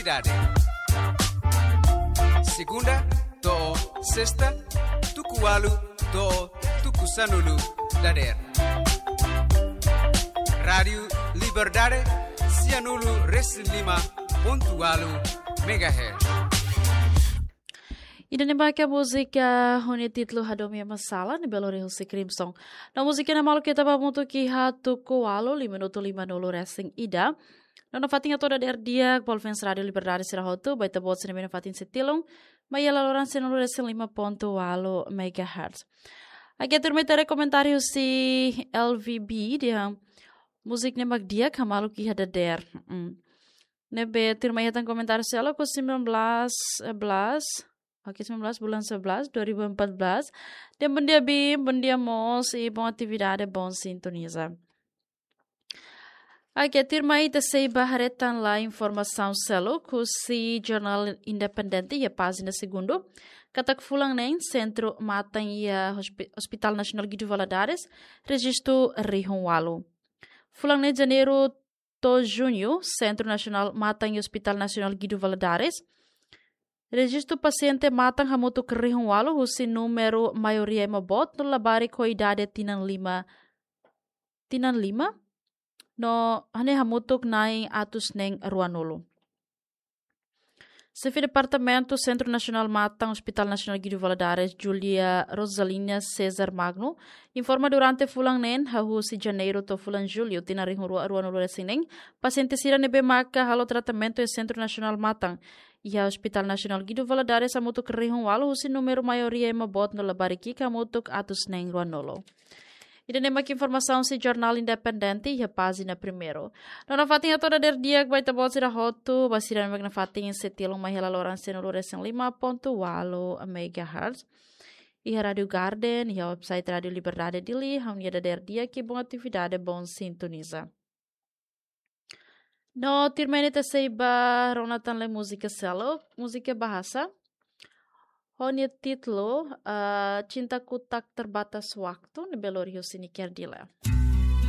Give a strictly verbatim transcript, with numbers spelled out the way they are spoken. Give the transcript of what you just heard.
Idade. Segunda to'o sesta, tuku ualu to'o tuku sanulu dadeer. Rádiu Liberdade, sianulu resin lima pontu ualu megahertz. Ida-ne'e mak múzika ho nia títulu Hadomi Masalah, ne'ebé lori husi Crimson. No múzika ne'e maluk ita ba hamutuk iha tuku ualu, lima minutu lima nulu resin ida. No nafatin hato'o dadeer di'ak ba ouvinte Rádiu Liberdade sira hotu, ba ita-boot sira ne'ebé nafatin sei tilun mai iha laloran sianulu resin lima pontu ualu megahertz. Oke, tuirmai ita haree komentáriu husi L V B dehan múzika ne'e mak di'ak, ha maluk iha dadeer. Mm. Ne'ebé tuirmai hetan komentáriu seluk, ku sembilan belas, eh, belas, oke, sembilan belas bulan sebelas dua ribu empat belas. Dehan bondia Bim, bondia mós, i bom atividade, bom sintoniza. Oke, tuirmai ita sei ba haree tan la informasaun seluk husi Jornál Independente iha pájina segundu. Katak fulan neen, sentru matan iha Hospi-, Hospital Nasionál Guido Valadares rejistu rihun ualu. Fulan neen, janeiru to'o juñu, Sentru Nasionál Matan iha Hospital Nasionál Guido Valadares rejistu pasiente matan hamutuk rihun ualu, husi númeru maioria ema boot no labarik ho idade tinan lima, tinan lima, no hanesan hamutuk na'in atus neen ruanulu. Xefe Departamentu Sentru Nasionál Matan Hospital Nasionál Guido Valadares, Julia Rosalina Cesar Magno, informa durante fulan neen, hahú husi janeiru to'o fulan jullu, tinan rihun rua ruanulu resin neen, pasiente sira ne'ebé maka halo tratamentu iha Sentru Nasionál Matan iha Hospital Nasionál Guido Valadares hamutuk rihun ualu, husi númeru maioria ema boot no labarik ki'ik hamutuk atus neen ruanulu. Ida-ne'e mak informasaun husi Jornál Independente iha pájina primeiru. No nafatin hato'o dadeer di'ak ba ita-boot sira hotu, ba sira ne'ebé nafatin sei tilun mai iha laloran sianulu resin lima pontu ualu megahertz. Iha Rádiu Garden, iha website Rádiu Liberdade Dili, ha'u-nia dadeer di'ak i bom atividade, bom sintoniza. No tuirmai ne'e ita sei ba rona tan lai múzika seluk, múzika bahasa. Ho nia títulu, eh, Cintaku Tak Terbatas Waktu, ne'ebé lori husi Nicky Ardila.